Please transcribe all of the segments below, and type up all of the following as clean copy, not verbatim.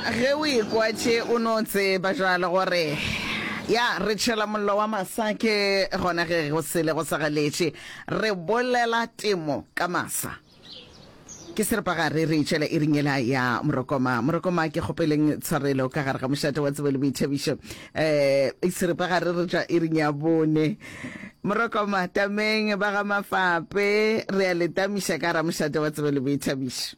Ge o ekwa tše o no tseba jwale gore ya re tšhela mollo wa masa ke gona ge go sele go sa galetše re bolela temo ka masa. Ke seripagare re itšwela iring yela ya Morokoma. Morokoma ke kgopeleng tshwarelo ka gare ga mošate wa tsebo le boithabišo. Um seripagare re tšwa iring ya bone. Morokoma tameng ba ga Mafape re a le tamiša ka gara mošate wa tsebo le boithabišo.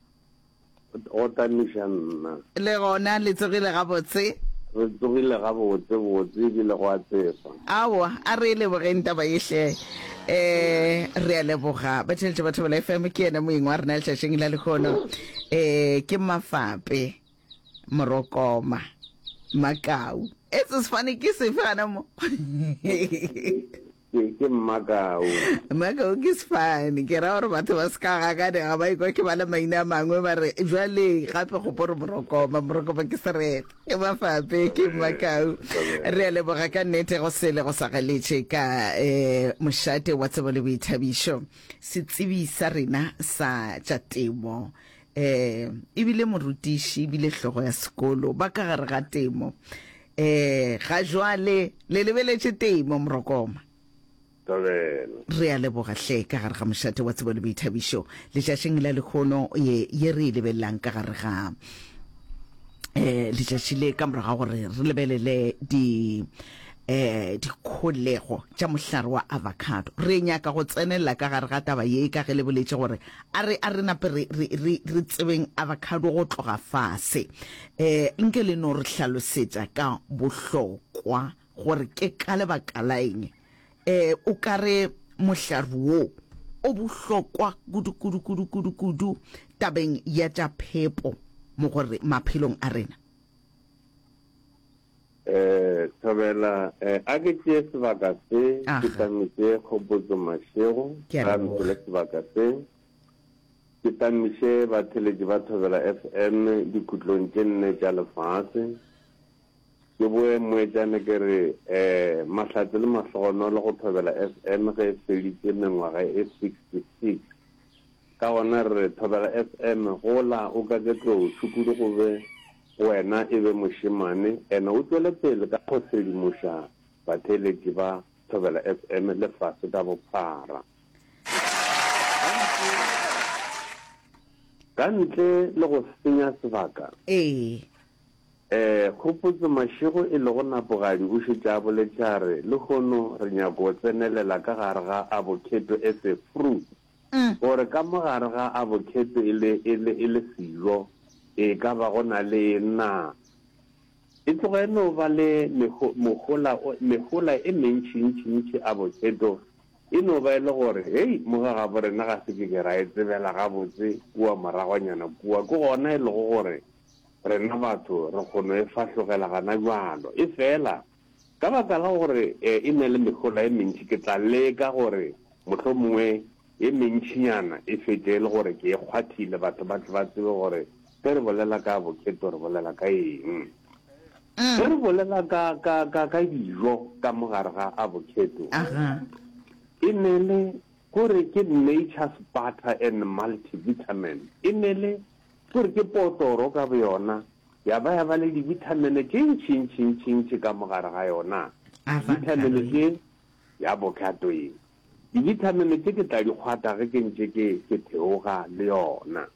Go tamiša nna. Le gona le tsogile gabotse? Re tsogile gabotse botse ebile go a tsefa. Aowa, a re e lebogeng taba ye hle. Eh, re a leboga. Batheeletši ba Thobela FM, ke yena moeng wa rena letšatšing la lehono. Eh, ke Mafape Morokoma Makau. Etse sefane ke sefe gana mo? Ke, ke Mmakau. Mmakau ke sefane. Ke ra gore batho ba se ka gakanega ba ikwa ke bala maina a mangwe ba re jwale gape gopo re Morokoma, Morokoma ke sereto. Ke Mafape, ke Mmakau. Re a leboga ka nnete go sele go sa galetše ka eh, mošate wa tsebo le boithabišo. Setsebi sa rena sa tša temo eh ebile morutiši ebile hlogo ya sekolo ba ka gare ga temo Eh, ga jwale le lebeletše temo, Morokoma. Thobela. Re a leboga hle ka gare ga mošate wa tsebo le boithabišo letšatšing la lehono ye, ye re e lebelelang ka gare ga eh letšatši le ka morago ga gore re lebelele di eh dikholego tša mohlare wa avocado. Re nyaka go tsenelela ka gare ga taba ye ka ge le boletše gore a re a re nape re re re re tsebeng avocado go tloga fase. Eh nke le no re hlalosetša ka bohlokwa gore ke ka lebaka la eng eh o ka re mohlare wo o bohlokwa kudu kudu kudu kudu kudu tabeng ya tša phepo mo gore maphelong a rena. Eh, Thobela, eh, a ke tšee sebaka se, ke tamiše Kgopotso Mashego, Ke a ga leboga. mphele sebaka se, ke tamiše batheletši ba Thobela FM dikhutlong tše nne tša lefase. Ke boe moetšane ke re, eh, mahlatse le mahlogonolo go Thobela FM ge e feditše mengwaga e 66. Ka gona re re, Thobela FM, gola o ka ke tlou, tšhukudu go be go wena e be mošemane, ene o tšwele pele ka go sedimoša batheeletši ba Thobela FM lefase ka bophara. Ka ntle le go senya sebaka, Ee. eh, Kgopotso Mašego e lego Napogadi o šetše a boletše a re, Lehono re nyako tsenelela ka gare ga avocado as a fruit. Gore ka mo gare ga avocado e le, e le, e le sejo, e ka ba go na le eng na? E tloga e no ba le meho, mohola o, mehola e mentši-ntši-ntši avocado. E no ba e le gore, hei, mo ga gabo rena ga se ke ke ra e tsebela gabotse kua moragonyana kua. Ke gona e lego gore rena batho re kgono e fahlogela gana bjalo. Efela, Ka baka la gore e na le mehola e mentši, ke tla leka gore mohlomongwe e mentšinyana e fetše e le gore ke e kgwathile, batho ba tle ba tsebe gore ge re bolela ka avocado re bolela ka eng. Ge re bolela ka, ka, ka, ka dijo ka mo gare ga avocado, e ne le gore ke nature's butter and multivitamin. E ne le gore ke potoro ka boyona Ya ba ya ba le dibithamene tše ntši-ntši-ntši-ntši ka mo gare ga yona. Dibithamene tše, ya avocado ye. Dibithamene tše ke tla di kgwata ge ke ntše ke, ke theoga le yona.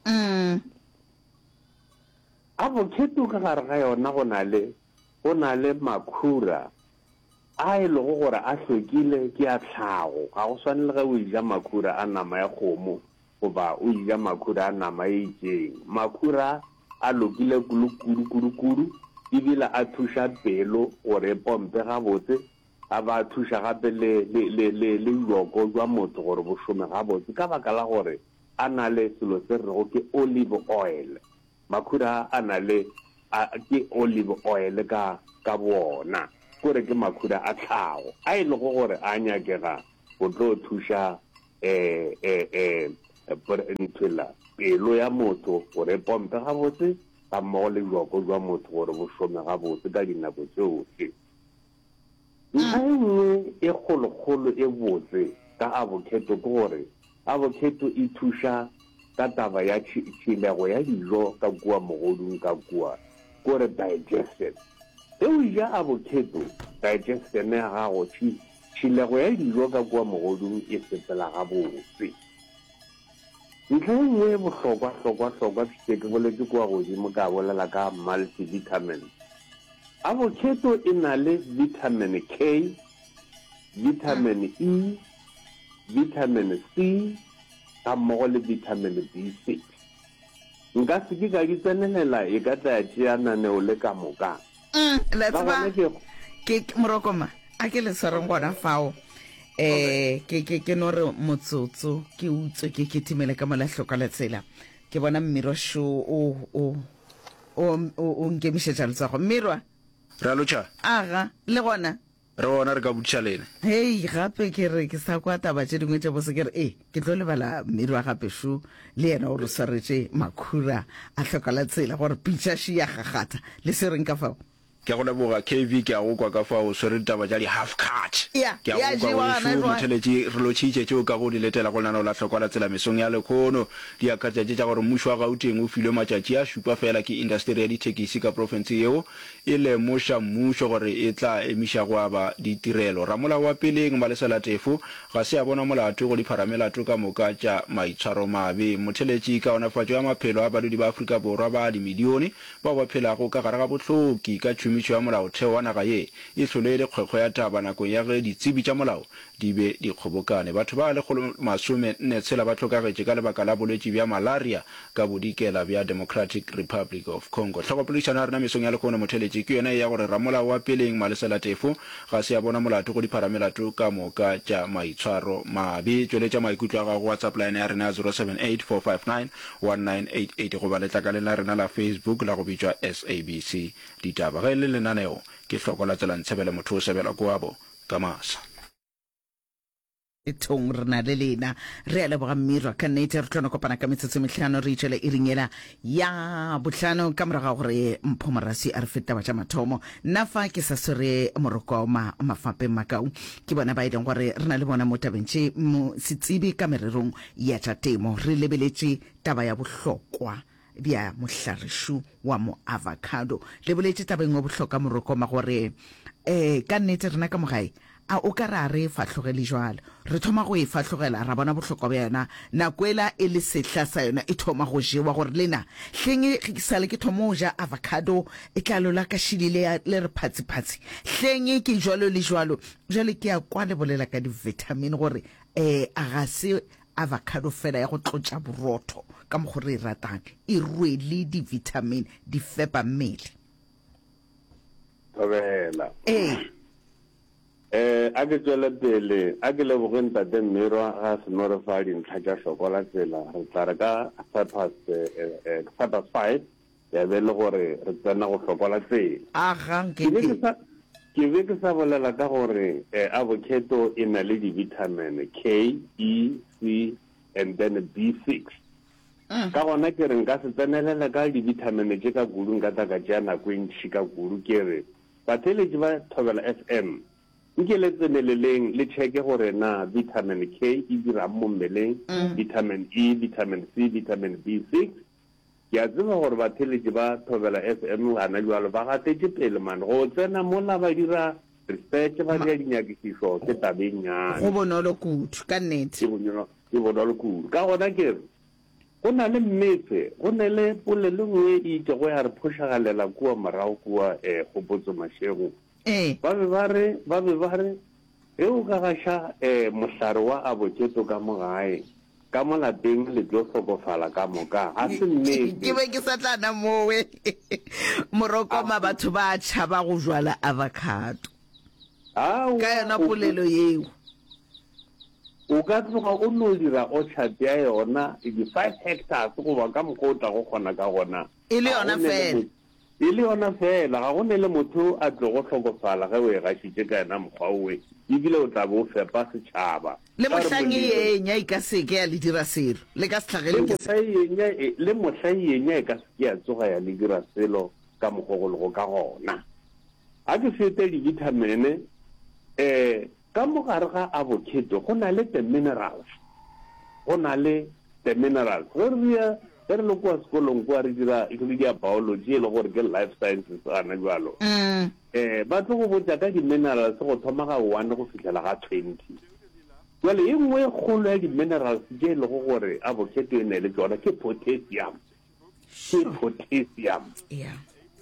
Avocado ka gare ga yona go na le, go na le makhura a e lego gore a hlwekile, ke a tlhago. Ga go swane le ge o eja makhura a nama ya kgomo goba o eja makhura a nama e itšeng. Makhura a lokile kudu kudu kudu ebile a thuša pelo gore e pompe gabotse, a ba a thuša gape le le le le le bjoko bja motho gore bo šome gabotse ka baka la gore a na le selo se re rego ke olive oil. Makhura a na le a ke olive oil ka ka boona, kore ke makhura a tlhago a e lego gore a nyakega go tlo thuša e, e, e, nthwela, pelo ya motho gore e pompe gabotse, gammogo le bjoko bja motho gore bo šome gabotse ka dinako tšohle. Ntlha e nngwe e kgolokgolo e botse ka avocado ke gore avocado e thuša ka taba ya tšhilego ya dijo ka kua mogodung ka kua. Kore digestion. Ge o ja avocado, digestion ya gago, tšhi, tšhilego ya dijo ka kua mogodung e sepela gabotse. Ntlha e nngwe e bohlokwa, hlokwa, hlokwa, ke šetše ke boletše kua godimo ka bolela ka multivitamins. Avocado e na le vitamin K, vitamin E, vitamin C gammogo le vitamin B6. Nka se ke ka di tsenelela, e ka tla ya tšea naneo le ka moka. Le a Ka tseba, gona ke. ke, ke, Morokoma, a ke le swareng gona fao. Eh, ke, ke, ke no re motsotso, ke utswe, ke kitimele ka mola hloka la tsela. Ke bona Mmirwa šo o, o, o, o, o nkemišetša letsogo. Mmirwa! Re a lotšha. Aga, le gona? Re gona, re ka botšiša lena. Hei, gape ke re ke sa kwa taba tše dingwe tše bose, ke re e, ke tlo lebala Mmirwa gape šo, le yena o re swaretše makhura a hloka la tsela gore pitša še ya gagatha. Le swereng ka fao? Ke a go leboga KV, ke a go kwa ka fao o swere ditaba tša di half cut. Ya, Ke a ya go kwa jewa gana wešo jwale. motheletši, re lotšhitše tše o kago di letela go lenaneo la Hlokwa la Tsela mesong ya lekhono. Di akaretša tše tša gore mmušo wa Gauteng o filwe matšatši a šupa feela ke indasteri ya dithekisi ka profense yeo e lemoša mmušo gore e tla emiša go aba ditirelo. Ramolao wa peleng, Malesela Teffo, ga se a bonwa molato go dipharamelato ka moka tša maitshwaromabe. Motheletši, kaonafatšo ya maphelo a badudi ba Afrika Borwa ba dimilione bao ba phelago ka gare ga bohloki ka tšhomišo ya molaotheo wa naga ye e hlole e le kgwekgwe ya taba nakong ya ge ditsebi tša molao di be di kgobokane. Batho ba 146 ba hlokagetše ka lebaka la bolwetši bja malaria ka bodikela bja Democratic Republic of Congo. Hlogopoledišano ya rena mesong ya lehono motheletši ke yona ye ya gore ramolao wa peleng Malesela Teffo ga se a bona molato go dipharamelato ka moka tša maitshwaro mabe. Tšweletša maikutlo a gago go WhatsApp line ya rena ya 0784591988 goba letlakaleng la rena la Facebook la go bitšwa SABC Ditaba. Ge e le lenaneo ke Hloko la Tsela Ntshebele motho o sebelwa koabo ka masa. Thong re na le lena. Re a leboga Mmirwa ka nnete. Re tlo no kopana ka metsotso e mehlano re itšwele iring yela ya bohlano ka morago ga gore Mpho Moraswi a re fe taba tša mathomo. Nna fa ke sa swere moroko ma mafapeng makau ke bona ba e leng gore re na le bona mo tabeng tše mo setsebi ka mererong ya tša temo. Re lebeletše taba ya bohlokwa bja mohlarišu wa moavocado. Le boletše taba e nngwe bohlokwa Morokoma gore um ka nnete rena ka mo gae a o ka re a re e fahlogele jwalo. Re thoma go e fahlogela ra bona bohlokwa bja yona nako ela e le sehla sa yona e thoma go jewa gore lena hleng ge ke sale ke thoma go ja avocado e tla lola ka šili le le re phatsi-phatsi hleng ke jwalo le jwalo. Jwale ke a kwa le bolela ka di-vitamin gore um a ga se Avocado fela ya go tlotša borotho ka mokgo re e ratang, e rwele di-vitamin, di fepa mmele. Thobela. Ee. Eh, a ke tšwele pele, a ke leboge Ntate Mmirwa ga a seno re fa dintlha tša hloko la tsela. Re tla re ka half past, eh, eh, half past five, ya be e le gore re tsena go hloko la tsela. Aga, Ke be ke nke-nke. sa, ke be ke sa bolela ka gore eh, avocado e na le di-vitamin K, E, C and then B6. Ka gona ke re nka se tsenelele ka di-vitamin tše ka kudu, nka tla ka tšea nako e ntši ka kudu. Ke re batheeletši ba Thobela FM, nke le tseneleleng le checke gore na vitamin K e dirang mo mmeleng, vitamin E, vitamin C, vitamin B6. Ke a tseba gore batheeletši ba Thobela FM gana bjalo ba gatetše pele man. Go tsena mola ba dira research, ba dira dinyakišišo ke taba e nnyane. Go bonolo kudu, ka nnete. Ke bonolo, ke bonolo kudu. Ka gona ke re, go na le mmetse, go ne le polelo e nngwe e itšego ya re phošagalela kua morago kua eh, Kgopotso Mashego. Ee. Ba be ba re, ba be ba re, ge o ka gaša eh, mohlare wa abokheto ka mo gae, Ka mo lapeng le tlo hlokofala ka moka. Ga se nnete. Ke be ke sa tla na mowe. Morokoma batho ba tšhaba go jwala avocado. Aowa, Ka yona polelo yeo. O ka tloga o no dira orchard ya yona di-five hectares goba ka mokgwa o tlago kgona ka gona. E le yona feela. E le yona feela, ga go ne le motho a tlogo hlokofala ge o e gašitše ka yena mokgwa owe, ebile o tla be o fepa setšhaba. Le Ka gore mohlang e molelo. enya e ka se ke ya le dira selo, le ka se Le hlagelwe ke mohla e enya e, le mohla e enya e ka se ke ya tsoga ya le dira selo ka mokgwa go lego ka gona. A ke fete dibithamene, eh, ka mo gare ga avocado go na le the minerals, go na le the minerals. Ge re ria. Ge re le kua sekolong kua re dira re dia biology e le gore ke life sciences gana bjalo, um ba tlo go botša ka di-minerals go thoma ga one go fihlela ga 20. Bjale ye nngwe e kgolo ya di-minerals tše e lego gore avocado e ne le tšona ke potassium. Ke potassium.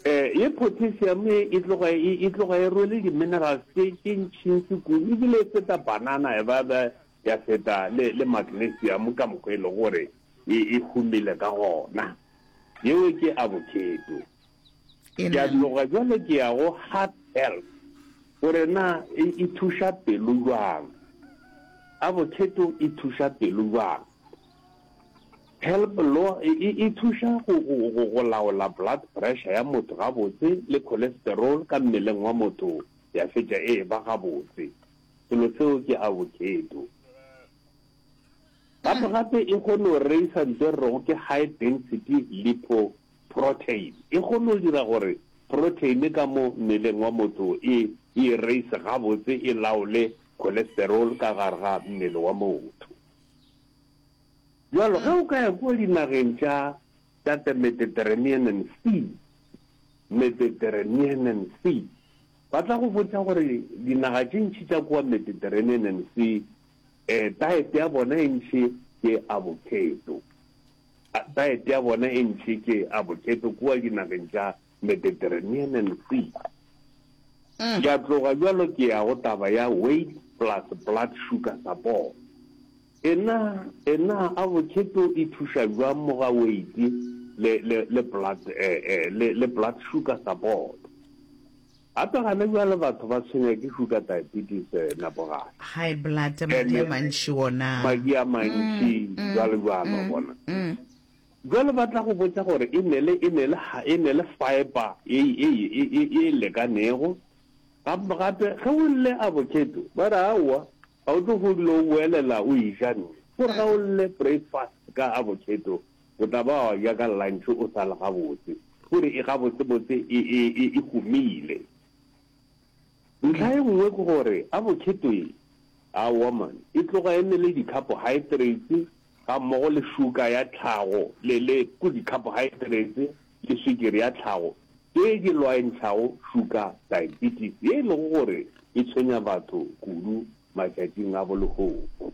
Eh, ye potassium e, e tloga e, e tloga e rwele di-minerals tše tše ntšintši kudu ebile e feta banana e ba ba ya feta le, le magnesium ka mokgwa e lego gore e, e humile ka gona. Yeo ke avocado. Ke a tloga bjale ke ya go heart health, gore na e, e thuša pelo bjang. Avocado e thuša pelo bjang? Help lo, e, e, e thuša go, go, go, go laola blood pressure ya motho gabotse le cholesterol ka mmeleng wa motho ya fetša e eba gabotse. Selo seo ke avocado. Gape gape e kgone go reisa nto e re rego ke high density lipoprotein. E kgone go dira gore protein ka mo mmeleng wa motho e e reise gabotse e laole cholesterol ka gare ga mmele wa motho. Bjalo ge o ka ya kua dinageng tša tša the Mediterranean Sea, Mediterranean Sea, ba tla go botša gore dinaga tše ntši tša kua Mediterranean Sea Eh, diet ya bona e ntši ke avocado. Diet ya bona e ntši ke avocado kua dinageng tša Mediterranean Sea. Mm. Ke a tloga bjalo ke ya go taba ya weight plus blood sugar support. Ena, ena avocado e thuša bjang mo ga weight le, le, le blood, eh, eh, le, le blood sugar support? Gape gane bjale batho ba tshwenya ke sugar diabetes Napogale. High blood, madi a mantši wona. Madi a mantši jwalo jwalo wa bona. Jwale ba tla go botša gore e ne le e ne le e ne le fiber ye ye ye ye lekanego. Gape gape ge o lle avocado ba re aowa ga o tlo go dula o boelela o e ja nne. Gore ga o lle breakfast ka avocado O tla ba wa ja ka lunch o sa le gabotse. Gore e gabotsebotse e, e, e, e humile. Ntlha e nngwe ke gore avocado e, aowa man, e tloga e ne le di-carbohydrates gammogo le sugar ya tlhago, le, le, ko di-carbohydrates le swikiri ya tlhago tše di lwantšhago sugar diabetes ye e lego gore e tshwenya batho kudu matšatšing a bolehono.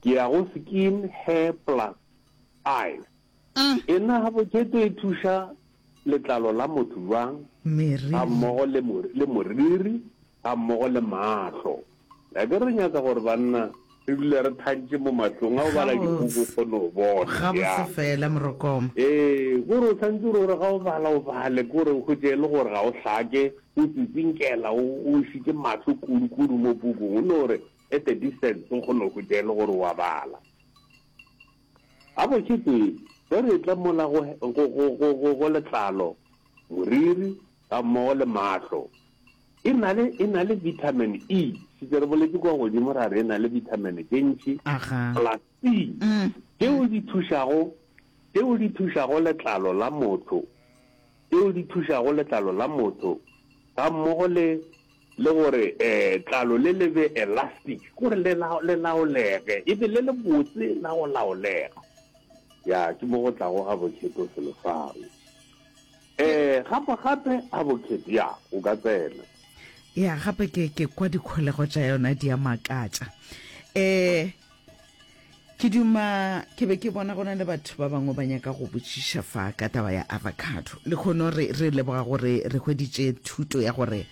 Ke ya go skin, hair plus eyes. E na avocado e thuša letlalo la motho bjang gammogo le, le moriri gammogo le mahlo? Akere re nyaka gore banna re dule re thantše mo mahlong, ga o bala dipuku o kgone go bona. Gabotse fela Morokoma. Ee, kore o santse o re ga o bala o bale, kore o hwetše e le gore ga o hlake, o tsitsinkela, o o išitše mahlo kudu-kudu mo pukung, o no re at a distance o kgone go hwetša e le gore o a bala. Gabotse tee, ge re etla mola go, go, go, go, go, go letlalo, moriri, gammogo le mahlo, E na le, e na le vitamin E. Šetše re boletše kua godimo ra re e na le vitamin tše ntši Aga. plus C tšeo di thušago, tšeo di thušago letlalo la motho, tšeo di thušago letlalo la motho gammogo le, le gore eh, tlalo le le be elastic, gore le, le laolege, e be le le botse la go laolega. Ya, ke mo go tlago avocado selo fao. Ee, gape gape advocate, ya, o ka tsena. Ya, gape ke, ke kwa dikholego tša yona di a makatša. Eh, ke duma, ke be ke bona go na le batho ba bangwe ba nyaka go botšiša fa ka taba ya avocado. Lekgono re, re leboga gore re hweditše thuto ya gore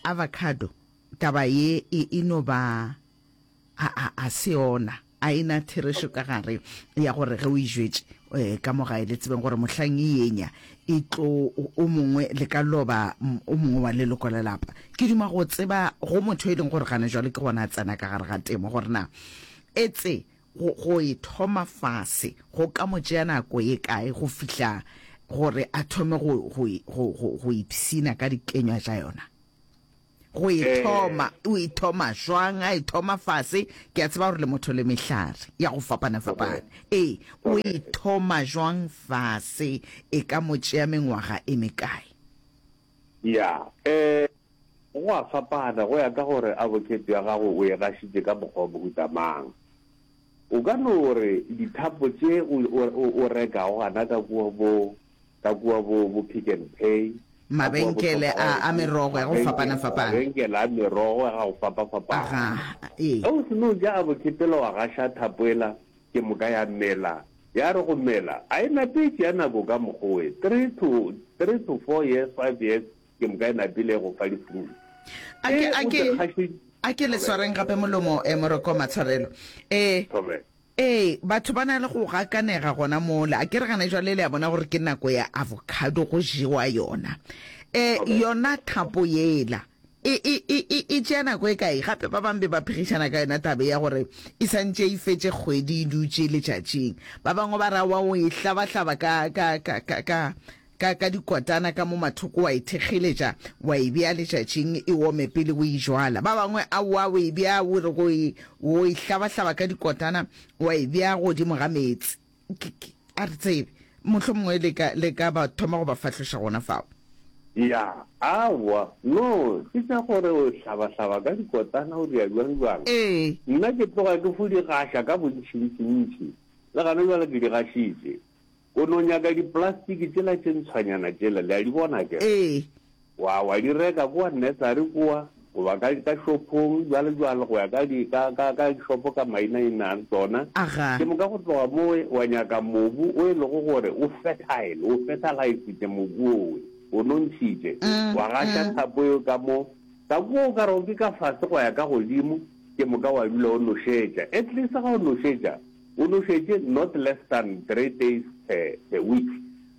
avocado, taba ye e, e no ba, a, a, a se yona. A e na therešo ka gare ya gore ge o e jwetše eh, ka mo gae le tsebeng gore mohlang e enya e tlo o mongwe le ka loba o mongwe wa leloko la lapa. Ke duma go tseba go motho e leng gore gana jwale ke gona a tsena ka gare ga temo gore na etse go, go e thoma fase go ka mo tšea nako ye kae go fihla gore a thome go, go, go, go, go ipshina ka dikenywa tša yona. Go e thoma, o e thoma jwang? A e thoma fase, ke a tseba gore le motho le mehlare ya go fapana-fapana. Ee, o e thoma jwang fase? E ka mo tšea mengwaga e mekae? Ya, eh, go a fapana go ya ka gore avocado ya gago o e gašitše ka mokgwa wa mohuta mang. O ka no re dithapo tše o, o, o, o rekago gana ka kua bo, ka kua bo, bo Pick n Pay, ka kua bo Mabenkele a, a Shoprite, merogo ya go mabenke, fapana-fapana. mabenkele a merogo ya go fapa-fapana. Aga, ee. Ge o seno ja abokhetela wa gaša thapo ela, ke moka ya mela. Ya re go mela, a e nape e tšea nako ka mokgowe, three to, three to four years, five years, Ke moka e napile e go fa di-fruit. A ke, Ge a o ke, se kgaše, a ke le Thobela. swareng gape molomo, eh, Moroko Matshwarelo. Eh, Thobela. ee, batho ba na le go gakanega gona mola. A ke re gana jwale le a bona gore ke nako ya avocado go jewa yona. Eh, Thobela. yona thapo yela e, e, e, e, e tšea nako e kae? Gape ba bangwe be ba phegišana ka yona tabe ya gore e santše e fetše kgwedi e dutše letšatšing. Ba bangwe ba ra wa o e hlabahlaba ka, ka, ka, ka, ka, Ka, ka dikotana ka mo mathoko wa e thekgeletša, wa e bea letšatšing e ome pele o e jwala. Ba bangwe aowa o e bea o re go e, o e hlabahlaba ka dikotana wa e bea godimo ga meetse. Ke, ke, a re tsebe. Mohlomongwe le ka, le ka ba thoma go ba fahloša gona fao. Ya, aowa, no, ke tša gore o hlabahlaba ka dikotana o dira bjang bjang. Ee. Nna ke tloga ke fo di gaša ka bontšintšintši. Le gana bjale ke di gašitše. O no nyaka diplastiki tšela tše ntshwanyana tšela, le a di bona akere? Ee. Wa, wa di reka kua nursery kua, goba ka, ka shopong, bjalo bjalo, go ya ka di, ka, ka, ka dishopo ka mainaina a tsona. Aga. Ke moka go tloga mowe wa nyaka mobu o e lego gore o fertile, o fertilize-itše mobu owe, o nontšhitše. Wa gaša thapo eo ka mo, ka kua o ka rego ke ka fase go ya ka godimo, ke moka wa dula o nošetša. At least ga o nošetša, O nošetše not less than three days per, per week.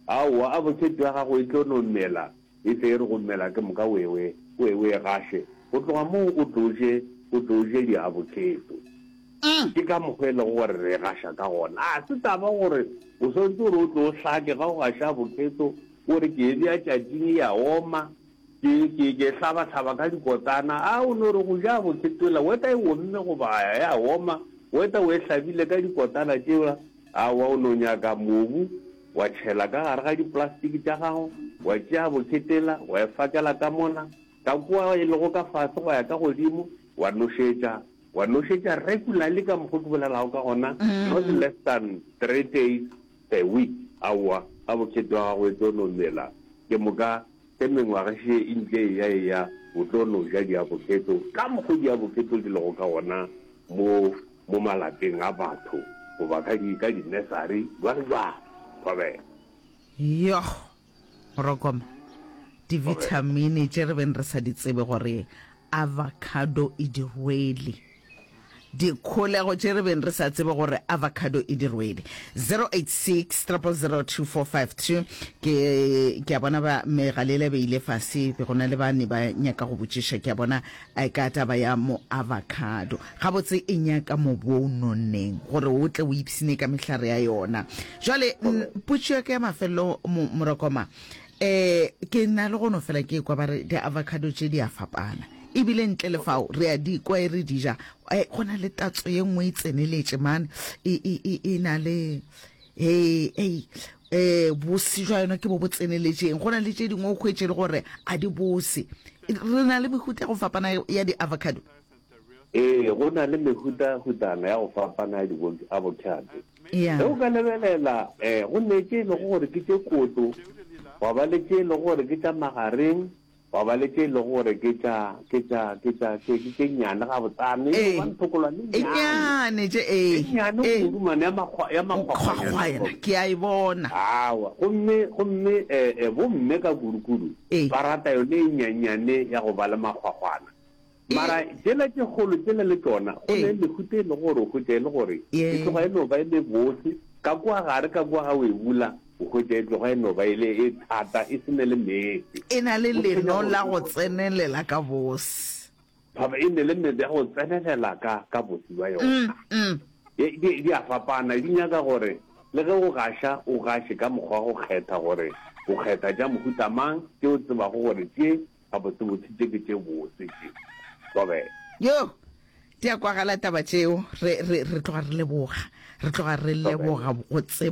Aowa, avocado ya gago e tlo no mela, e tle e re go mela ke moka o e, o e, o e, o e gaše. Go tloga moo o tlo je, o tlo je diavocado. Ke ka mokgwa e lego gore re e gaša ka gona. A se taba gore o swanetše gore o tlo o hlake ga o gaša avocado, o re ke e bea tšatšing e a oma, Ke, ke, ke hlabahlaba ka dikotana. A o no re go ja bokhetwela, weta e omme goba ya oma, weta o e hlabile ka dikotana tšela. Aowa, o no nyaka mobu, wa tšhela ka gare ga diplastiki tša gago, wa tšea bokhetela, wa e fakela ka mola, ka kua e lego ka fase go ya ka godimo, wa nošetša, wa nošetša regularly ka mokgo ke bolelago ka gona, not less than three days per week. Aowa, ga bokhetwa gago e tlo no mela, ke moka Ge mengwaga še e ntše e eya eya, o tlo no ja diabokheto ka mokgo diabokheto di lego ka gona mo, mo malapeng a batho goba ka di, ka dinesari, bjalo bjalo. Thobela. Yoh! Morokoma, divithamine tše re beng re sa di tsebe gore avocado e di rwele. Dikholego tše re beng re sa tsebe gore avocado e di rwele. 086 000 2452 Ke, ke a bona ba megalela be ile fase, be go na le ba ne ba nyaka go botšiša, ke a bona eh, ka taba ya mo avocado. Gabotse e nyaka mobu o nonneng gore o tle o ipshine ka mehlare ya yona. Jwale, potšo ya ka ya mafelelo, Morokoma, eh, ke na le go no fela ke kwa ba re di-avocado tše di a fapana. E bile ntle le fao, re a di kwa e re di ja. Eh, go na le tatso ye nngwe e tseneletše man, e, e, e, e na le, hei, hei, eh, bose jwa yona ke bo bo tseneletšeng. Go na le tše dingwe o hwetše le gore a di bose. Re na le mehuta ya go fapana ya di-avocado. Ee, go na le mehutahutana ya go fapana ya di-avocado. Ya. Ge o ka lebelela, eh, go ne tše e lego gore ke tše koto, gwa ba le tše e lego gore ke tša magareng, Gwa ba le tše e lego gore ke tša, ke tša, ke tša, ke, ke tše nnyane gabotsana, e no ba nthokolwane e E nnyane. nnyane tše, ee, E nnyane ee. kudu mane, ya makgwa, ya makgwakgwanyana. Kgwakgwanyana, ke a e bona. Aowa, gomme, gomme, eh, eh, bomme ka kudukudu Ee. ba rata yone e nnyannyane ya go ba le makgwakgwana. E. Mara tšela tše kgolo tšela le tšona, go Ee. ne mehuta e lego gore o hwetša e le gore e Ye. tloga e no ba e le bose, ka kua gare ka kua ga o e bula, o hwetša e tloga e no ba e le e thata, e se ne le meetse. E na le O tshwenya leno gore la o go tsenelela ka bose. Thaba e ne le meetse ya go tsenelela ka, ka bose bja Mm, yona. mm. Di, di, di a fapana, di nyaka gore le ge o gaša, o gaše ka mokgwa wa go kgetha gore o kgetha tša mohuta mang, tše o tsebago gore tše Gabotsebotse tše ke tše bose tše. Thobela. Yo! Di a kwagala taba tšeo. Re, re, re tloga re leboga. Re tloga re leboga go tseba.